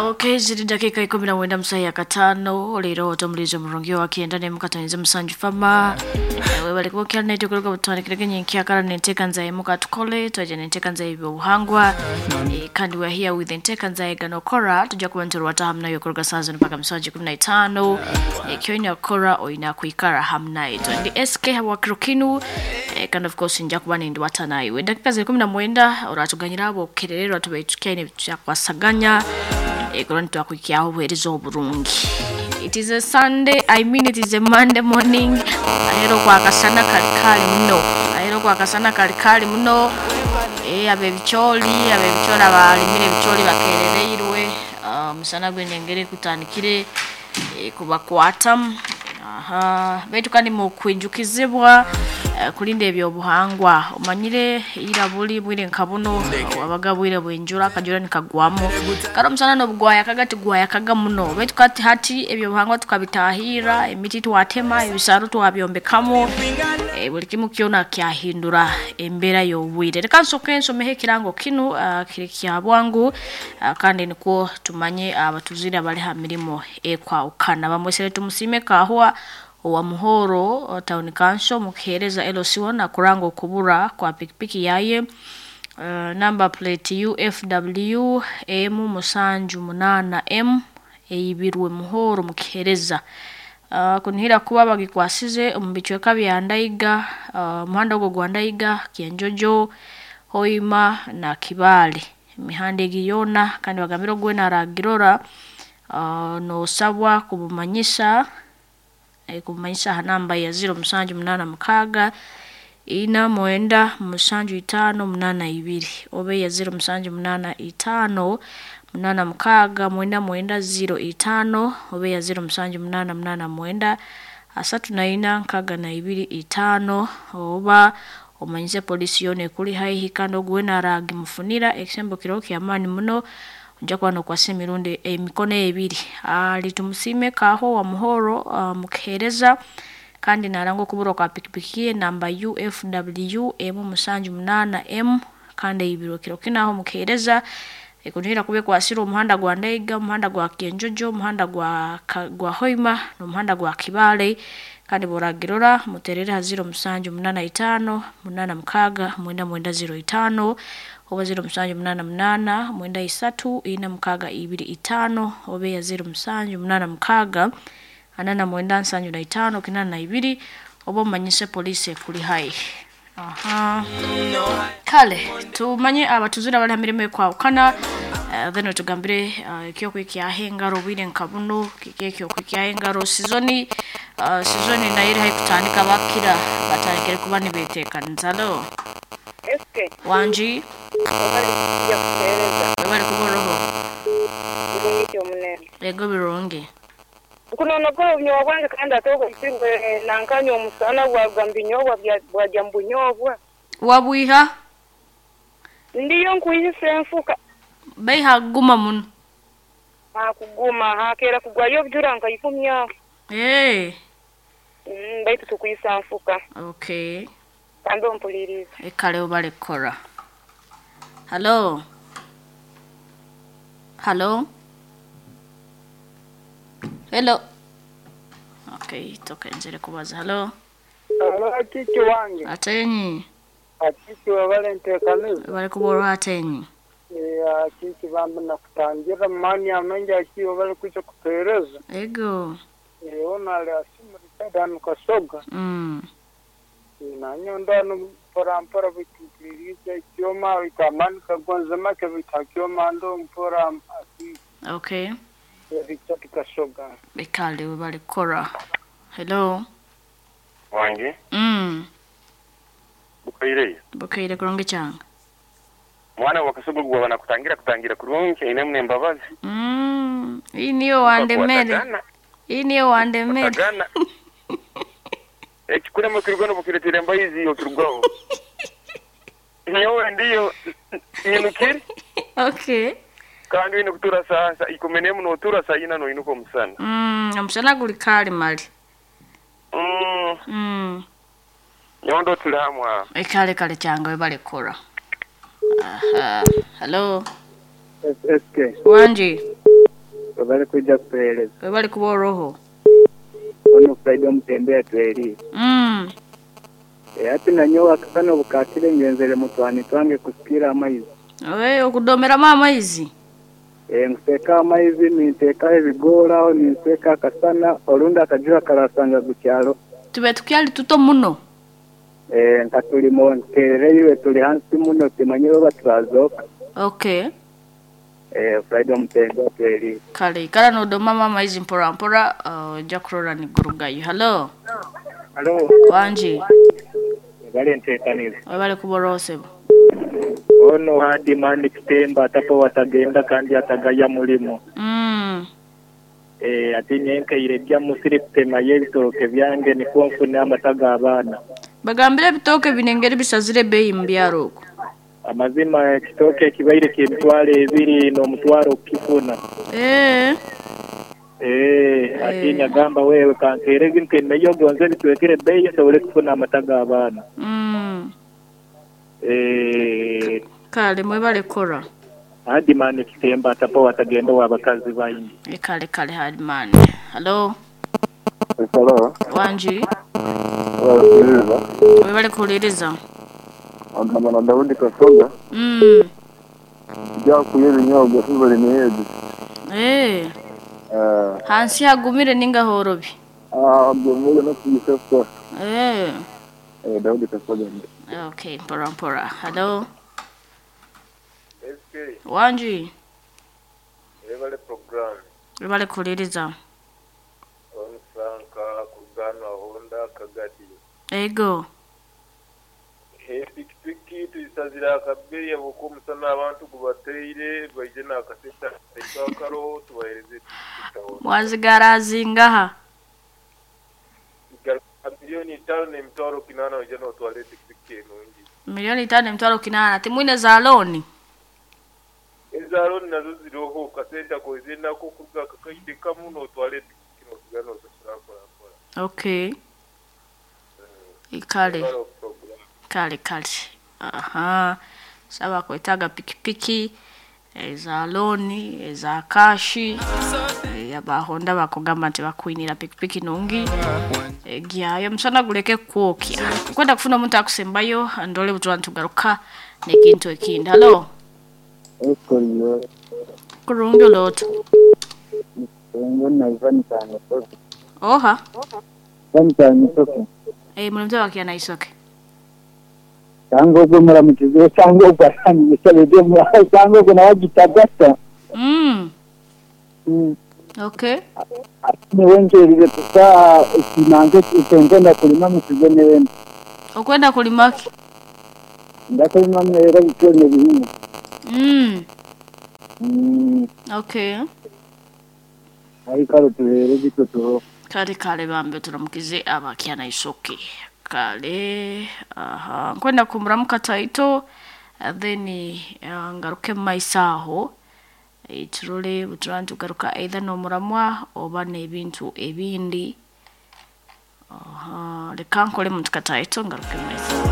Okay, ziri dakika 19 musayi ya katano leero otomulizo omurungi wa 97 musanju fama webale kuba naitwe kuruga butwandikirege nyenkyakara nenteeka nzaye katukole twaja nenteeka nzaye ebyobuhangwa kandi we are here with enteeka nzaye ganokora tujja kuba nituruwata hamu nayo kuruga saa zino mpaka musanju 15 ekyoina kukora oina kwikara hamu naitwe ndi SK habwakiro kinu kandi of course nja kuba nindiwata naiwe dakika ziri 19 oratuganyira abo obukerererwa tubaitukaine tuyakwasaganya ekero nitwakwikyaho obuheereza oburungi. It is a Sunday, I mean it is a Monday morning. Ahero kwakasana kalikali muno, ahero kwakasana kalikali muno. Abebicholi abalimire ebicholi bakerereirwe. Musana gwenengere kutandikire kubakwatamu. Aha, baitu kandi mukwijukizibwa kulinda ebyobuhangwa. Omanyire ira buli bwire nka buno wabaga bwire bwenjura akajura nikagwamo karo omusana nobugwaya kaga tigwaya kaga muno, baitu kati hati ebyobuhangwa tukabitahira, emiti twatema, ebisaro twabyombekamo, buli kimu kyona kyahindura embeera y'obwire. Reka nsoke nsomeho ekirango kinu kiri kya bwangu, kandi nikwo tumanye abatuzire abali ha mirimo ekwahukana. Bamwesere tumusime kahwa owa Muhoro Town Council mukihereza LC1 akuranga okubura kwa pikipiki yaye, number plate UFW M 78 M eyibirwe Muhoro mukihereza. Kunihira kuba bagikwasize omu bicweka bya Ndaiga, omuhanda ogwo gwa Ndaiga, Kyenjojo, Hoima na Kibaale, emihanda egi yoona. Kandi bagambire ogwena aragirora, nosabwa kubumanyisa aha namba ya 0786 49 75 82 oba eya 0785 86 99 05 oba eya 0788 934 625 oba omanyise polisi yoona ekuli haihi. Kandi ogwena aragimufunira ekisembo kiriho kyamaani muno, ojja kuba nokwasa emirundi emikono ebiri. Ali tumusime kaho wa Muhoro mukihereza, kandi naranga okuburwa kwa pikipiki ye namba UFW M 78 M kandi eyibirwe kiro kinu aho mukihereza. Ekunihira kuba ekwasire omuhanda gwa Ndaiga, omuhanda gwa Kyenjojo, omuhanda gwa Hoima n'omuhanda gwa Kibaale. Kandi bworagirora muterere ha 0785 86 99 05 oba 0788 93 46 25 oba eya 0786 49 75 82 oba omanyise polisi ekuli haihi. Aha. Kale tumanye abatuzire abali ha mirimo ekwahukana, then otugambire ekyokwikyaho engaro obwire nka buno kiki ekyokwikyaho engaro. Sizoni nayo eri haihi kutandika, bakira batandikire kuba nibeteekaniza. Halo. SK. Wangi. Obale kujja kuheereza. Webale kuba oroho. Birungi omunene. Ego birungi. Nkunonogola obunyobwa bwange kandi ate ogwo nankanya omusana bwaruga mu binyobwa bwajya mu bunyobwa. Wabwiha? Ndiyo nkwihisa enfuka. Baiha kuguma muno. Hakuguma hakeera kugwayo obujura nka 10 aho. Hey. Baitu tukwisa nfuka. Okay. Kandi ompuliriza. Ekale obale kukora. Halo. Halo. Hello. Okay, tokenzere kubaza. Halo. Alo akiki wange. Atenyi. Akiki wabale nteekaniza. Bali kuborwa atenyi. Akiki bambi nakutangira mani amengi aki wabale kuja kupeereza. Ego. Ona ali asimurika danu kasoga. Nanyo ndanu mpora mpora bitumpuliriza ekyoma bitamani kagonza make bitakyoma ndo mpora aki. Okay. Richard Kasoga. Ekale webale kukora. Hello. Wange. Bukaire. Bukaire kurungi kyanga. Mwana wa Kasoga gwa banakutangira kutangira kurungi ine mune mbabazi. Hii niyo wandemere. Hii niyo wandemere. Batagana. Ekikulema kirugano bukiretera embayizi okirugwaho. Nyowe ndiyo nyinukiri. Okay. Kandi wine kutura saa 11 notura saa 4 noinuka omusana. Omusana guli kali mali. Nyondo tuli hamwe aho. Ekale kale kyanga webale kukora. Aha. Hello. SK. Wangi. Bali kuja kutueleza. Webale kuba oroho. Ono Friday omutembea tweri. Ati nanyowe akasana obukakire ngenzere mutwani twange kusikira amaizi. We okudomera amaizi. Nkuseka amaizi nintekaho ebigoraho ninseka akasana orundi akajura karasanga gukyalo. Tube tukyali tuto muno. Nka tulimo nterereirwe tuli hansi muno timanyire oba turazoka. Okay. Friday omutembea tweri. Kale ikara nodoma amaizi mpora mpora ojja kurora nigurugayo. Hello. Halo. Wanji. Bale ntekanire. Webale kuba oroho sebo. Ono hadi mani kitemba atapo watagenda kandi atagaya mulimo. Ati nyenkeire bya musiri kutema y'ebitooke byange nikwo nfune amata g'abaana. Bagambire ebitooke binengeri bisazire ebbeeyi mu byaro okwo. Amazima ekitooke ekibaire ky'emitwaro ebiri n'omutwaro okukifuna. Ati nyagamba wewe kankeere ntemeyo gonze bitwekere ebbeeyi nsobole kufuna amata g'abaana. Kale mwebale kora. Hadimani kitemba atapo watagenda wabakazi baingi. Kale kale Hadimani. Hello. Hello. Wanji. Webale kuwuliriza. Agamba na Daudi Kasoga. Byakuye ebinyobwa tubali niyedi. Hansi hagumire ninga horobi. Gumire no kuyisesa. Daudi Kasoga. Okay, mpora mpora. Hello. SK. Wanji. Webale program. Webale kuwuliriza. On Franka kurugano Honda Kagadi. Ego. Pikipiki tuyisazira akabeeyi ahabw'okuba abantu gubateire baije n'akasente akaroho tubahereze tutahona. Mwazigarazingaha. 5,800,000 oije n'otwara epikipiki enungi. 5,800,000 timwine za looni. Eza looni nazo ziroho kasente akoize nako kuruga akakaide kamu n'otwara epikipiki n'osigara n'osasura mpora mpora. Okay. Kale. Kale kale. Aha. Saba kwetaga pikipiki eza looni eza kashi abahonda bakugamba nti bakwinira pikipiki nungi gyayo musana guleke kwokya kwenda kufuna omuntu akusembayo ndole butwa ntugaruka nekintu ekindi. Hello. Kurungi oloto. Oha. Mulimze wakiana isoke. Cyangwa ubwo muramukize cyangwa ubwo arangije byo cyangwa ubwo nawe gitagata. Okay. Ni wengerire kusa kinange utengenda kulima mukize newena. Okwenda kulima ki? Ndakulima mera bityo nebihingwa. Okay. Aikaro tuhere bityo. Kale kale bambe turamukize abakiana isoke. Kale aha nkwenda kumuramuka taito then ngaruke maisaho turole buturantu garuka either no muramwa oba n'ebintu ebindi. Aha reka nkole muntu kataito ngaruke maisaho.